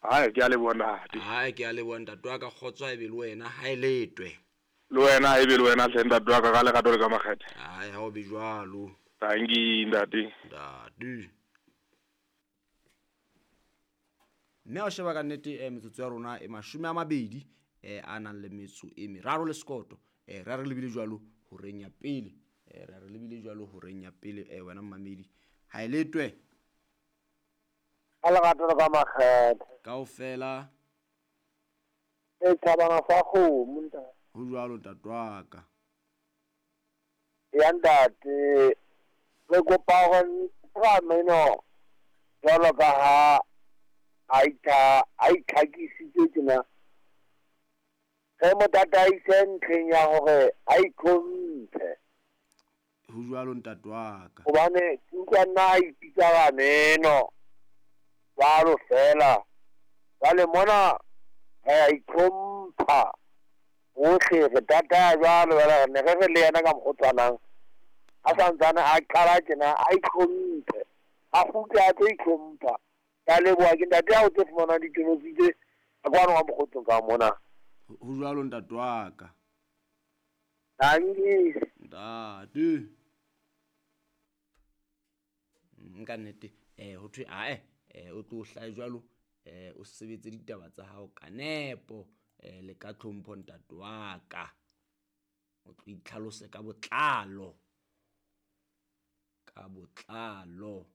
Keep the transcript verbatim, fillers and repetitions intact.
Hai, ke a leboha ntate. Hai, ke a leboha ntate wa ka, kgotso ha ebe le wena, ha e letwe. Le wena ha ebe le wena hle ntate wa ka, ka lerato le ka makgethe. Hai, ha o be jwalo. Tanki ntate. Ntate. Mme ha o sheba ka nnete eh, metsotso ya rona e mashome a mabedi eh, a nang le metso e meraro le sekoto. Eh, re a re lebile jwalo horeng ya pele. Eh, re a re lebile jwalo horeng ya pele eh, wena mmamedi. Ha e letwe. Ka lerato le ka makgethe. Kaofela. E thabana sa kgomo ntate. Ho jwalo ntate wa ka. Ya ntate, re kopa hore ra meno jwalo ka ha a itha a itlhakisitse tjena. Re mo tataise ntlheng ya hore a itlhomphe. Ho jwalo ntate wa ka. Hobane ke utlwa nna a ipitsa rameno jwalo fela. Jwale mona re a itlhompha bohle, re tataya jwalo, jwale ne re re le yena ka mokgwa o tshwanang. A santsane a qala tjena a itlhomphe, a kgutle a tlo itlhompha. Ke a leboha, ke ntate ya o tlo fumana ditolotsi tse ka kwano ka mokgotsong ka mona. Ho jwalo ntate wa ka. Tanki. Ntate. Nka nnete, eh, ho thwe ae, eh, o tlo hlahe jwalo, eh, o sebetse ditaba tsa hao ka nepo, eh, le ka tlhompho ntate wa ka. O tlo itlhalose ka botlalo. Ka botlalo.